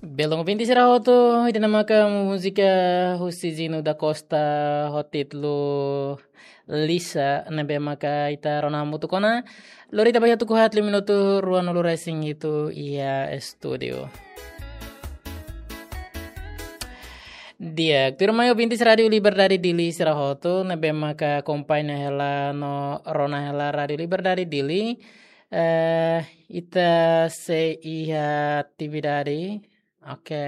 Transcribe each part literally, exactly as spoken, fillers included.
Belun ouvinte sira hotu, ida-ne'e maka múzika husi Zino da Costa ho títulu Lisa, ne'ebé maka ita rona hamutuk ona. Lori ita ba iha tuku haat liu minutu ruanulu-resin-hitu iha estúdiu. Di'ak, tuirmai ouvintes Rádio Liberdade Dili sira hotu, ne'ebé maka akompaña hela no rona hela Rádio Liberdade Dili. Eh, ita sei iha atividade, oke,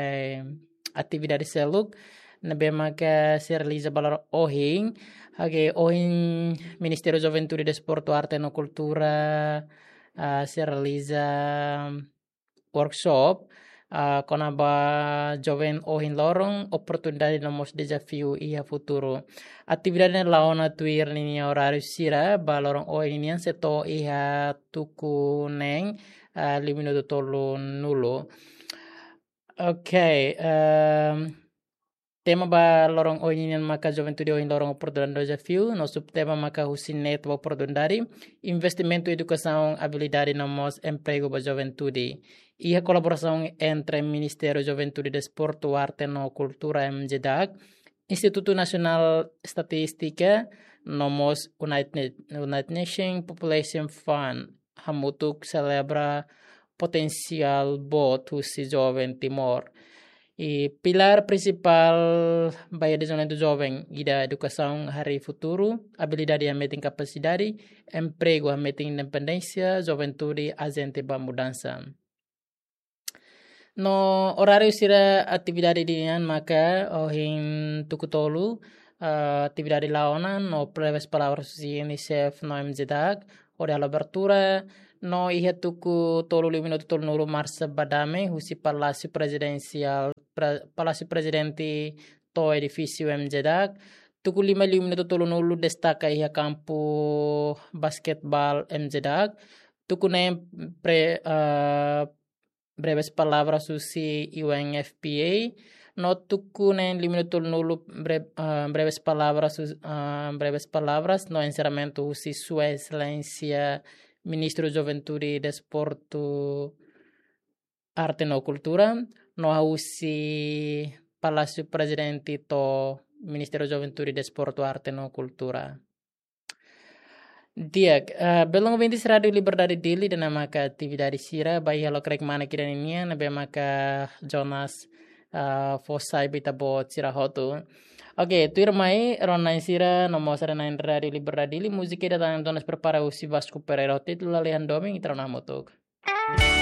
atividade seluk ne'ebé maka sei realiza ba loron ohin, oke, ohin Ministériu Juventude, Desportu, Arte no Kultura, ah, sei realiza workshop, ah, kona-ba joven ohin loron, oportunidade no mós dezafiu iha futuru. Atividade ne'e la'o ona tuir ninia oráriu sira, ba loron ohin nian sei to'o iha tuku neen, ah, liu minutu tolunulu. Oke, ehm, tema ba loron ohin nian maka Juventude ohin loron, oportunidade no dezafiu, no subtema maka husi ne'e to'o ba oportunidade, investimentu, edukasaun, abilidade no mós empregu ba juventude. Iha kolaborasaun entre Ministériu Juventude, Desportu, Arte no Kultura, MJDAC, Institutu Nasionál Estatístika, no mós United, United Nations Population Fund, hamutuk selebra potensiál boot husi joven Timor. I pilár prinsipál ba iha dezenvolvimentu joven, ida edukasaun harii futuru, abilidade hametin kapasidade, empregu hametin independénsia, juventude ajente ba mudansa. No oráriu sira atividade nian maka ohin tuku tolu, ah, atividade la'o ona no breves palavras husi UNICEF no MJDAC, hodi halo abertura, no iha tuku tolu liu minutu tolunulu marsa ba dame husi Palásiu Prezidensiál, Pra-, Palásiu Prezidente to'o edifísiu MJDAC. Tuku lima liu minutu tolunulu destaka iha kampu basketbol MJDAC. Tuku neen pre-, ah, breves palavras husi UNFPA. No tuku neen liu minutu tolunulu bre-, ah, breves palavras hus-, ah, breves palavras no enserramentu husi Sua Exelénsia Ministru Juventude, Desportu, Arte no Kultura, no husi Palásiu Prezidente to'o Ministériu Juventude, Desportu, Arte no Kultura. Di'ak, eh, belun ouvintes Rádio Liberdade Dili, ida-ne'e maka atividade sira ba iha lokraik manek ida-ne'e nian, ne'ebé maka Jonas, eh, fó sai ba ita-boot sira hotu. Oke, tuirmai rona-na'in sira no mós haree-na'in Rádio Liberdade Dili, múzika ida tan Jonas prepara husi Vasco Pereira ho títulu Lalehan Domin, ita rona hamutuk.